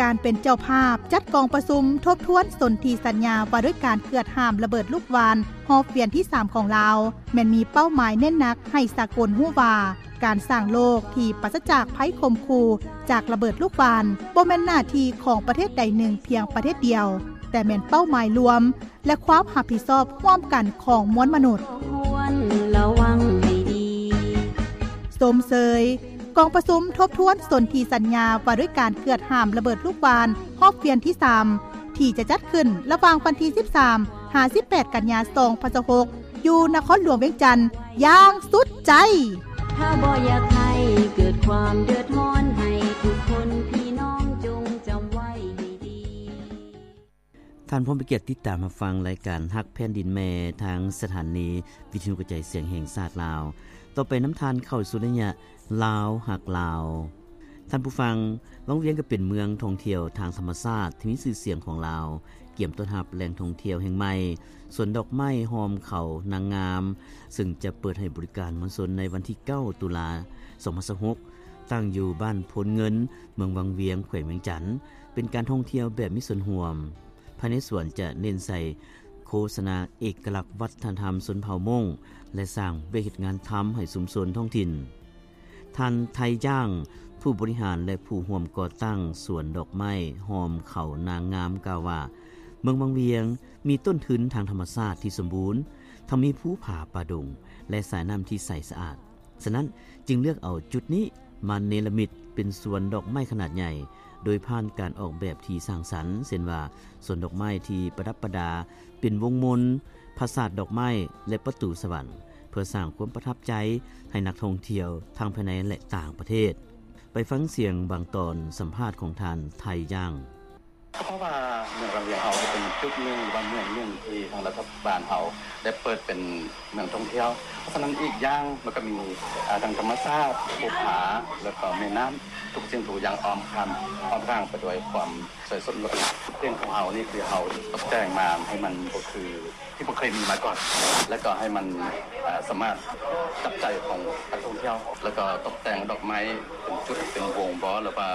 ການເປັນເຈົ້າພາບຈັດກອງປະຊຸມທົບທວນສົນທິສັນຍາວ່າດ້ວຍການເກືອດຫ້າມລະເບີດລູກຫວ່ານຮອບວຽນທີສາມຂອງລາວ ແມ່ນມີເປົ້າໝາຍເນັ້ນໜັກໃຫ້ສາກົນຮູ້ວ່າ ການສ້າງໂລກທີ່ປາສະຈາກໄພຂົ່ມຂູ່ຈາກລະເບີດລູກຫວ່ານ ບໍ່ແມ່ນໜ້າທີ່ຂອງປະເທດໃດໜຶ່ງພຽງປະເທດດຽວ, ແຕ່ແມ່ນເປົ້າໝາຍລວມ ແລະ ຄວາມຮັບຜິດຊອບຮ່ວມກັນຂອງມວນມະນຸດ. ຊົມເຊີຍກອງປະຊຸມທົບທວນສົນທິສັນຍາວ່າດ້ວຍການເກືອດຫ້າມລະເບີດລູກຫວ່ານຮອບວຽນທີສາມ ທີ່ຈະຈັດຂຶ້ນລະຫວ່າງວັນທີສິບສາມ ຫາ ສິບແປດ ກັນຍາ ສອງພັນຊາວຫົກ ຢູ່ນະຄອນຫຼວງວຽງຈັນຢ່າງສຸດໃຈ. ຖ້າບໍ່ຢາກໃຫ້ເກີດຄວາມເດືອດຮ້ອນ ໃຫ້ທຸກຄົນພີ່ນ້ອງຈົ່ງຈຳໄວ້ໃຫ້ດີ. ທ່ານຜູ້ມີກຽດຕິດຕາມຮັບຟັງລາຍການຮັກແຜ່ນດິນແມ່ ທາງສະຖານີວິທະຍຸກະຈາຍສຽງແຫ່ງຊາດລາວ. ຕໍ່ໄປນຳທ່ານເຂົ້າສູ່ໄລຍະລາວຮັກລາວ. ທ່ານຜູ້ຟັງ, ວັງວຽງກໍເປັນເມືອງທ່ອງທ່ຽວທາງທຳມະຊາດທີ່ມີຊື່ສຽງຂອງລາວ, ກຽມຕ້ອນຮັບແຫຼ່ງທ່ອງທ່ຽວແຫ່ງໃໝ່, ສວນດອກໄມ້ຫ້ອມເຂົານາງງາມ, ເຊິ່ງຈະເປີດໃຫ້ບໍລິການມວນຊົນໃນວັນທີເກົ້າ ຕຸລາ ສອງພັນຊາວຫົກ ຕັ້ງຢູ່ບ້ານໂພນເງິນ, ເມືອງວັງວຽງ, ແຂວງວຽງຈັນ, ເປັນການທ່ອງທ່ຽວແບບມີສ່ວນຮ່ວມ. ພາຍໃນສວນຈະເນັ້ນໃສ່ໂຄສະນາເອກະລັກວັດທະນະທຳຊົນເຜົ່າມົ້ງ ແລະ ສ້າງວຽກເຮັດງານທຳໃຫ້ຊຸມຊົນທ້ອງຖິ່ນ. ທ່ານ ໄທ ຍ່າງ, ຜູ້ບໍລິຫານ ແລະ ຜູ້ຮ່ວມກໍ່ຕັ້ງສວນດອກໄມ້ຫ້ອມເຂົານາງງາມ ກ່າວວ່າ ເມືອງວັງວຽງມີຕົ້ນທຶນທາງທຳມະຊາດທີ່ສົມບູນ, ທັງມີພູຜາປ່າດົງ ແລະ ສາຍນ້ຳທີ່ໃສສະອາດ. ສະນັ້ນຈຶ່ງເລືອກເອົາຈຸດນີ້ມາເນລະມິດເປັນສວນດອກໄມ້ຂະໜາດໃຫຍ່ ໂດຍຜ່ານການອອກແບບທີ່ສ້າງສັນ ເຊັ່ນວ່າ ສວນດອກໄມ້ທີ່ປະດັບປະດາເປັນວົງມົນ, ຜາສາດດອກໄມ້ ແລະ ປະຕູສະຫວັນ ເພື່ອສ້າງຄວາມປະທັບໃຈໃຫ້ນັກທ່ອງທ່ຽວທັງພາຍໃນ ແລະ ຕ່າງປະເທດ. ໄປຟັງສຽງບາງຕອນສຳພາດຂອງທ່ານ ໄທ ຍ່າງ. ເພາະວ່າເມືອງວັງວຽງເຮົາເປັນຈຸດໜຶ່ງ ຫຼືວ່າເມືອງໜຶ່ງທີ່ທາງລັດຖະບານເຮົາໄດ້ເປີດເປັນເມືອງທ່ອງທ່ຽວ. ເພາະສະນັ້ນອີກຢ່າງມັນກໍມີ ອາ ທັງທຳມະຊາດ, ພູຜາ ແລ້ວກໍແມ່ນ້ຳ, ທຸກສິ່ງທຸກຢ່າງອ້ອມຂ້າມ ອ້ອມຂ້າງໄປດ້ວຍຄວາມສວຍສົດງົດງາມ. ເຂດຂອງເຮົານີ້ຄືເຮົາຕົກແຕ່ງມາໃຫ້ມັນບໍ່ຄື ທີ່ບໍ່ເຄີຍມີມາກ່ອນ ແລ້ວກໍໃຫ້ມັນ ອາ ສາມາດຈັບໃຈຂອງນັກທ່ອງທ່ຽວ ແລ້ວກໍຕົກແຕ່ງດອກໄມ້ເປັນຈຸດເປັນວົງບໍ ຫຼືວ່າ